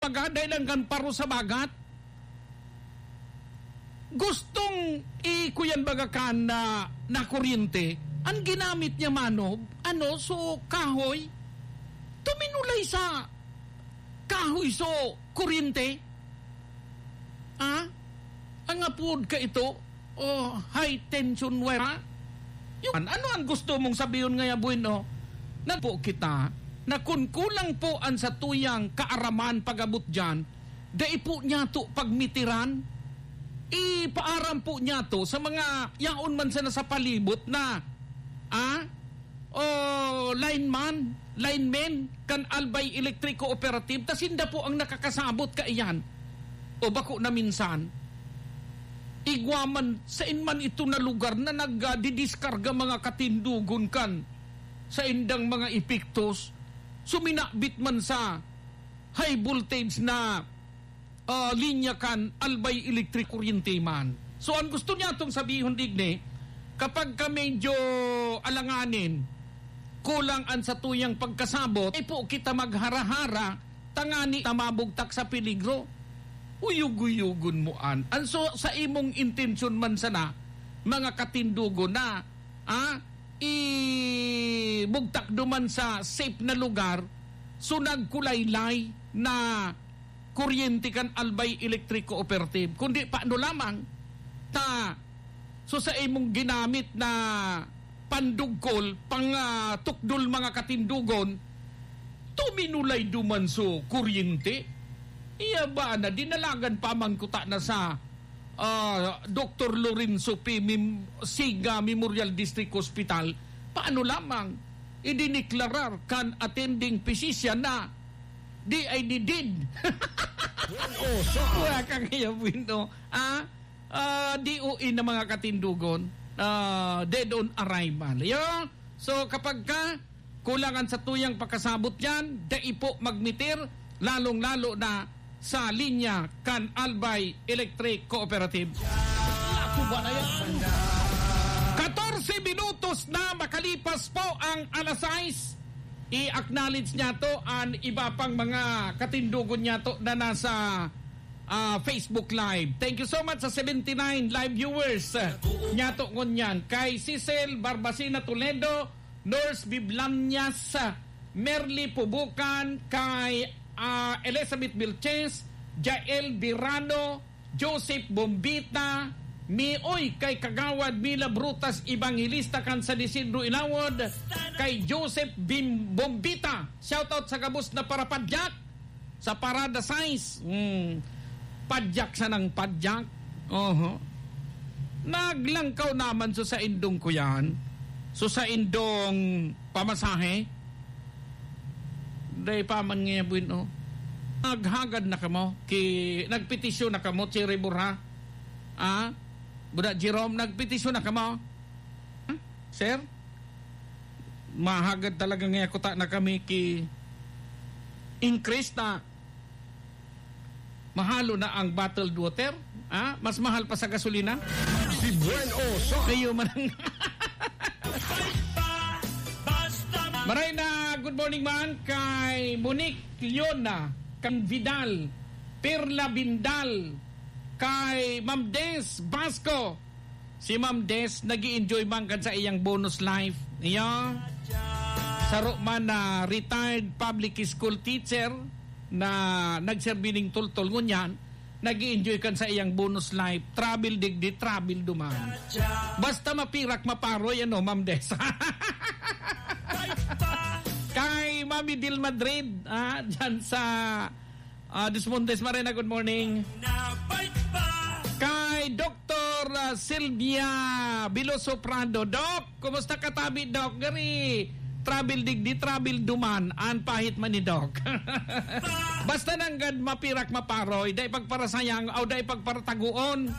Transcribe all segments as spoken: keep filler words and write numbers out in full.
Dai lang kan paro sa bagat. Gustong ikuyan baga kan na, na kuryente. Ang ginamit niya, mano, ano, so, kahoy. Tuminulay sa kahoy, so, kuryente. Ah? Ang apod ka ito, oh, high tension wire, ha? Yung, ano ang gusto mong sabihon ngaya, bueno? Nagpo kita na kun kulang po an satuyang kaaraman pag-abot diyan, dai po niyato pagmitiran. Ipaaram po niyato sa mga yaon man sana sa palibot na, ah, o lineman, linemen kan Albay Electric Cooperative, ta sinda po ang nakakasabot kaiyan. O bako na minsan, igwa man, sain man ito na lugar na nagdidiskarga mga katindogon kan saindang mga epektos, suminabit man sa high voltage na, ah, linya kan Albay Electric, kuryente man. So, ang gusto niya itong sabihon, digni, kapag ka medyo alanganin, kulang an satuyang pagkasabot, ay po kita maghara-hara, tangani na mabugtak sa peligro. Uyog-uyogon mo an. An so, sa imong intensyon man sana, mga katindogon na, ah, ibugtak duman sa safe na lugar, so nagkulaylay na kuryente kan Albay Electric Cooperative, kundi paano lamang ta, so sa imong ginamit na pandugkol, pang, ah, tukdol mga katindogon, tuminulay duman so kuryente. Iya ba na dinalagan pa man kuta na sa, ah, Doktor Lorenzo P. Mim-, Siga Memorial District Hospital? Paano lamang idineklarar kan attending physician na D I D dead? Wala kang iya, bueno. Ah, ah, D O A na mga katindogon, ah, dead on arrival. Yo? So, kapag ka kulang an satuyang pakasabot yan, dai po magmitir, lalong-lalo na sa linya kan Albay Electric Cooperative. Laco ba na yan? Katorse minutos na makalipas po ang alas sais. I-acknowledge niyato an iba pang mga katindogon niyato na nasa, ah, Facebook Live. Thank you so much sa seventy-nine live viewers, ah, niyato ngunyan. Kay Cecil Barbacena Toledo, Nurse Biblañas, Merly Pubukan, kay, ah, Elizabeth Vilches, Jael Birano, Joseph Bombita, mi-, oy, kay Kagawad Mila Brutas, Evangelista kan San Isidro Inawod, kay Joseph Bim-, Bombita. Shoutout sa gabos na parapadyak. Sa Parada sais, hmm, padyak sanang padyak. Oho. Naglangkaw naman so saindong kuyan, so saindong pamasahe. Dai pa man nga, bueno. Naghagad na kamo, ki-, nagpetisyon na kamo, Cherry Borja. Ah? Buda Jerome, nagpetisyon na kamo? Hmm? Sir? Mahagad talaga nga kuta na kami ki increase na mahalo na ang bottled water, ah, mas mahal pa sa gasolina. Si Buen Oso. Kayo man ang Maray na good morning man kay Monique Leona, kang Vidal, Perla Bindal, kay Ma'am Des Basco, Si Ma'am Des, nag-i-enjoy man kan sa iyang bonus life. Iyo. Saro man na retired public school teacher na nagserbi ning tultol ngunyan, nag-i-enjoy kan sa iyang bonus life. Travel digdi, travel duman. Basta mapirak, maparoy, ano, Ma'am Des. Kay Mami Dil Madrid, ah, dyan sa Ah, Desmontes Marina, good morning. Kay Doktor, ah, Sylvia Veloso Prado. Doc, kumusta ka tabi, Doc? Gari, travel digdi, travel duman. An pahit man ni Doc. Basta nanggad mapirak maparoy, dai pagparasayang, o dai pagparatagoon.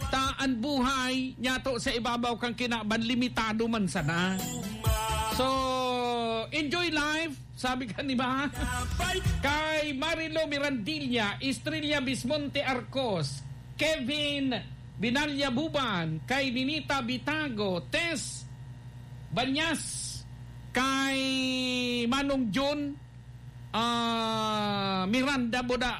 Ta an buhay, nyato sa ibabaw kang kinaban, limitado man sana. So, enjoy life. Sabi ka, di ba? Kay Marilo Mirandilla, Estrella Bismonte Arcos, Kevin Binalya Buban, kay Ninita Bitago, Tess Banyas, kay Manong Jun, ah, Miranda Buda,